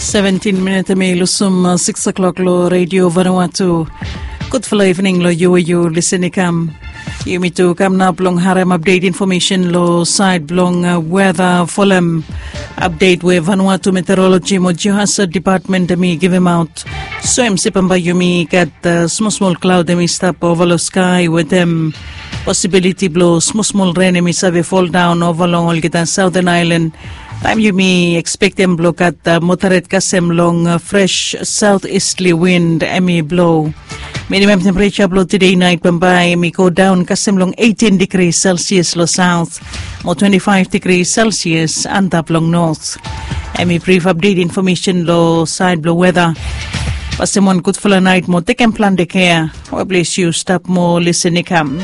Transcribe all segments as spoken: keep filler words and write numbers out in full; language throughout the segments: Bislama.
Seventin minit em i lusum sikis o'klok long redio Vanuatu. Gudfala evening long yu we yu lisin i kam. Yumi tu kam nao blong harem apdet infomesen long sait blong weda folem apdet we Vanuatu Meteorologi mo Geohazard Dipatmen em i givimaot. So em se bambae yumi gat smol smol klaod em i stap ova long skai wetem posibiliti blong smol smol ren em i save foldaon ova long olgeta saoten aelan. Taem yumi ekspektem blong gat moderet kasem long fres saot istli win em i blo. Minimam tempereja blong tede nait bambae em i godaon kasem long eitin digri selsias long saot mo twenti faef digri selsias antap long not. Em i brif apdet infomesen long sait blong weda. Pasem wan gudfala nait mo tekem plante kea we plis yu stap mo lisin i kam.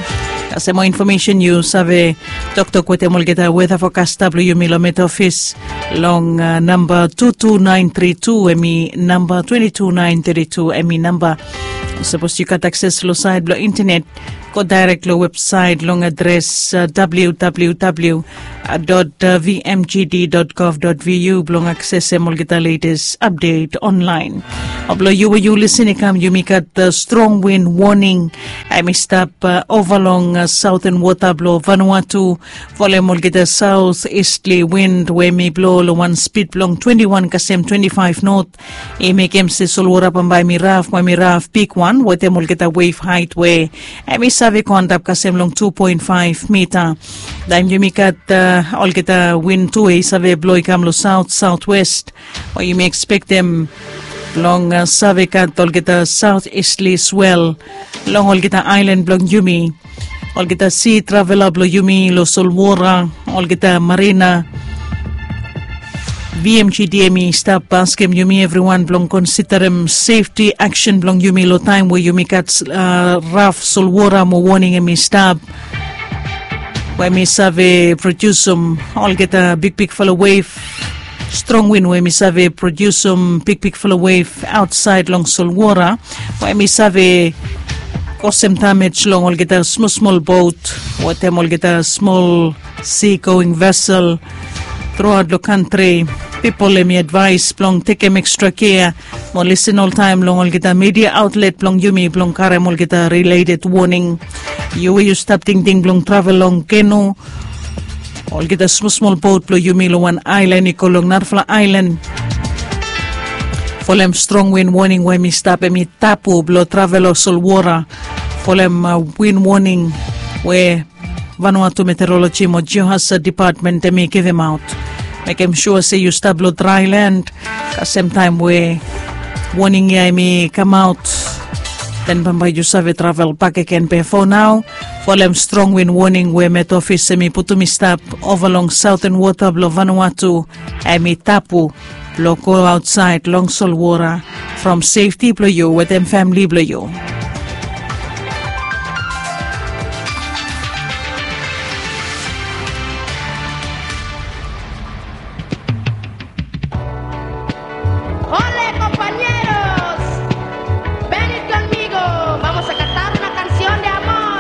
Kasem mo infomesen yu save toktok wetem olgeta weda fokasta blong yumi long met ofis long namba tu tu naen tri tu em i namba twenti tu naen tri tu em i namba. Sapos yu gat akses long sait blong intenet, go daerek long websait long adres www dot vmgd dot gov dot vu blong aksesem olgeta letes apdet onlaen. Blong yu we yu lisin i kam yumi gat strong win woning em i stap ova long saoten wota blong Vanuatu. Folem olgeta saot istli win we em i blo long wan spid blong twenti wan kasem twenti faef not. I mekem se solwora bambae em i raf mo em i raf bigwan wetem olgeta wef hait we em i save go antap kasem long tu poen faef mita. Taem yumi gat olgeta win tu we i save blo i kam long saot saotwest, we yumi ekspektem blong save gat olgeta saot istli swel long olgeta aelan blong yumi. Olgeta si travela blong yumi long solwora, olgeta marina. Vmgd em i stap askem yumi evriwan blong konsiderem sefti aksen blong yumi long taem we yumi gat raf solwora mo woning em i stap, we em i save prodiusim olgeta bigbigfala wef, strong win we em i save prodiusim bigbigfala wef aotsaed long solwora, we em i save kosem damej long olgeta smol smol bot wetem olgeta smol si going vesel. Truaot long kantri, pipol em i advaes blong tekem ekstra kea mo lisin oltaem long olgeta midia aotlet blong yumi blong karem olgeta rileted woning. Yu we yu stap tingting blong travel long kenu, olgeta smol smol bot blong yumi long wan aelan i go long narafala aelan, folem strong win woning we em i stap em i tabu blong travel long solwora, folem win woning we Vanuatu Meteorologi mo Geohazard Dipatmen em i givimaot. Mekem sua se yu stap long draelan, kasem taem we woning ya em i kamaot, den bambae yu save travel bakegen. Be fo nao, folem strong win woning we met ofis em i putum i stap ova long saoten wota blong Vanuatu, em i tabu blong go aotsaed long solwora, from sefti blong yu wetem famili blong yu.